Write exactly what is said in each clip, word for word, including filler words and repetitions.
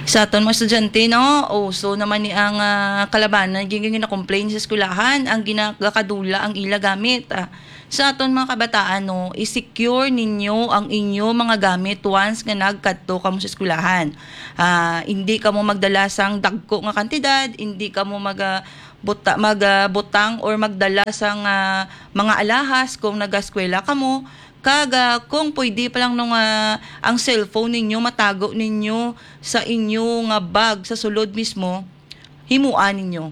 Sa aton mga estudyante, no, uso naman ni ang, ah, kalabanan, gin-, gin-, gina-complain sa eskwelahan, ang ginakadula ang ila gamit. Ah, sa aton mga kabataan, no, i-secure ninyo ang inyo mga gamit once nga nagkadto kamo sa eskwelahan. Ah, hindi kamo magdala sang dagko nga kantidad, hindi kamo mag, ah, buta-, mag, ah, butang or magdala sang, ah, mga alahas kung nag-eskwela kamo. Kag, ah, kung pwede pa lang, no, nga ang cellphone ninyo matago ninyo sa inyo nga bag sa sulod mismo, himoa ninyo.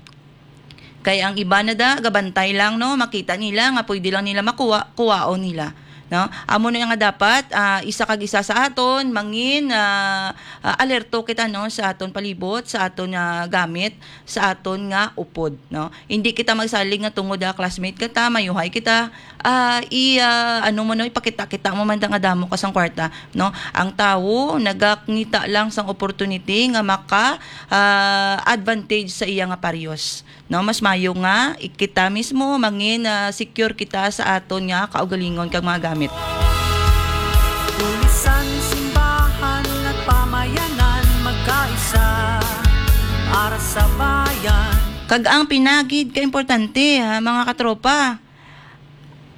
Kay ang iba na da, gabantay lang, no, makita nila nga pwede lang nila makuha, kuwaon nila, no? Amo na nga dapat, ah, isa kag isa sa aton mangin, ah, ah, alerto kita, no, sa aton palibot, sa aton, ah, gamit, sa aton nga upod, no? Hindi kita magsalig nga tungod, ah, classmate kita, mayuhay kita, ah, i, ah, ano mo, no, ipakita-kita mo man da nga damo ka sang kwarta, no? Ang tawo nagakita lang sang opportunity nga maka, ah, advantage sa iya nga paryos, no? Mas mayo nga i-, kita mismo mangin, ah, secure kita sa aton nga kaugalingon kag mga gamit. Pulisan, simbahan, at pamayanan, magkaisa para sa bayan. Kag ang pinagid ka importante, ha, mga katropa,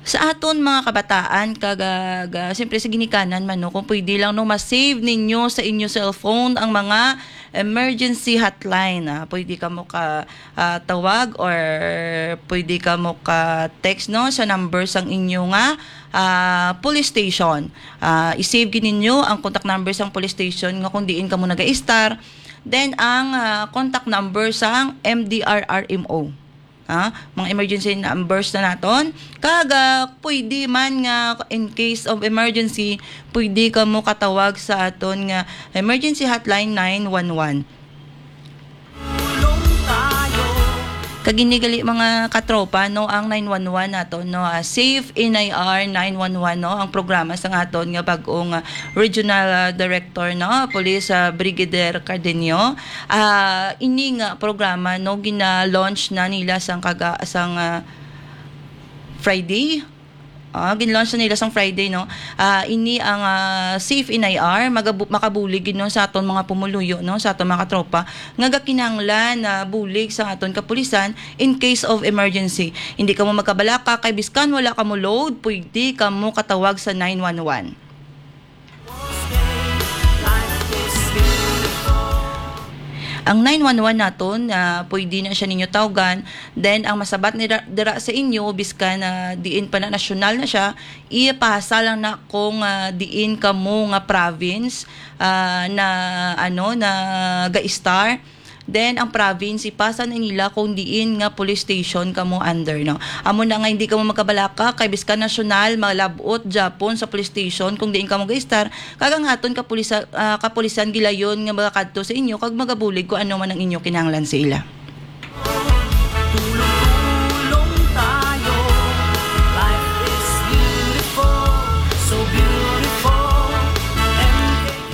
sa aton mga kabataan, kag, ah, ga-, siyempre sa ginikanan man, no, kung pwede lang, no, ma-save ninyo sa inyo cellphone ang mga emergency hotline, ah. Pwede kamo ka, ah, tawag or pwede kamo ka text, no, sa number sang inyo nga, ah, police station. Ah, i-save gid ninyo ang contact number sang police station nga kung diin kamo nag-a-star. Then, ang, ah, contact number sang M D R R M O. Ha? Mga emergency numbers na naton. Kag, ah, pwede man nga in case of emergency, pwede kamo katawag sa aton nga emergency hotline nine one one. Kag ini gali, mga katropa, no, ang nine one one naton, no, ah, Safe N I R nine one one, no, ang programa sa aton nga bag-ong, ah, regional, ah, director, no, Police, ah, Brigadier Cardenio. Ah, ini nga programa, no, gina-launch na nila sang kaga-, sang, ah, Friday. Ah, gin-launch na nila sang Friday, no. Ah, ini ang, ah, Safe N I R, magabu-, makabulig gid, no, sa aton mga pumuluyo, no, sa aton mga katropa nga gakinahanglan na bulig sa aton kapulisan in case of emergency. Hindi kamo magkabalaka kay biskan wala kamo load, pwede kamo katawag sa nine one one. Ang nine one one naton, ah, pwede na siya ninyo tawgan. Then, ang masabat nira, dira sa inyo, biskan, ah, diin pa na nasyonal na siya, ipasa lang na kung, ah, diin kamo nga province, ah, na, ano, na ga-star. Then, ang province, ipasa na nila kung diin nga police station kamo under, no? Amo na nga hindi kamo magkabalaka, kay biskan nasyonal, malab-ot gyapon sa police station kung diin kamo ga-star, kag ang aton kapulisan, ah, kapulisan gilayon nga magakadto sa inyo kag magabulig kung ano man ang inyo kinahanglan sa ila. Tulong-tulong tayo. Life is beautiful, so beautiful.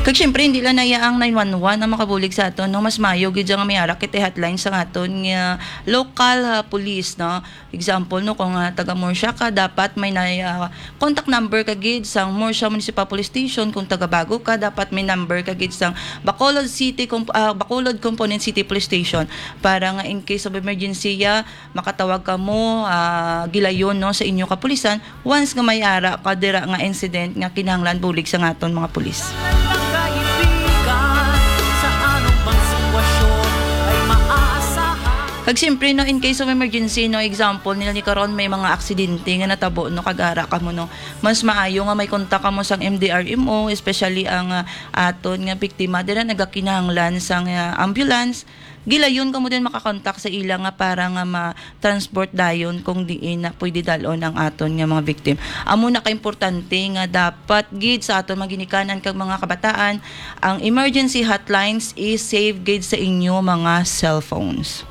Kag syempre, hindi lang na iya ang nine one one ang makabulig sa aton, no? Mas mayo gid nga may ara kita hotline sa aton nga local, ah, police, no? Example, no, kung, ah, taga Murcia ka, dapat may na, ah, contact number ka gid sang Murcia Municipal Police Station. Kung taga Bago ka, dapat may number ka gid sang Bacolod City Comp-, ah, Bacolod Component City Police Station para nga in case of emergency, ah, makatawag kamo, ah, gilayon, no, sa inyo kapulisan once nga may ara ka dira nga incident nga kinahanglan bulig sa aton mga pulis. Kag siyempre, no, in case of emergency, no, example nila ni karon, may mga aksidente nga natabo, no, kag ara kamo, no, mas maayo nga may kontak kamo sang M D R M O, especially ang, ah, aton nga biktima dira nagakinahanglan sang, ah, ambulance. Gilayon kamo din makakontak sa ila nga para nga ma-transport dayon kung diin na pwede dalon ang aton nga mga victim. Amo na kaimportante nga dapat gid sa aton mga ginikanan kag mga kabataan, ang emergency hotlines is save gid sa inyo mga cellphones.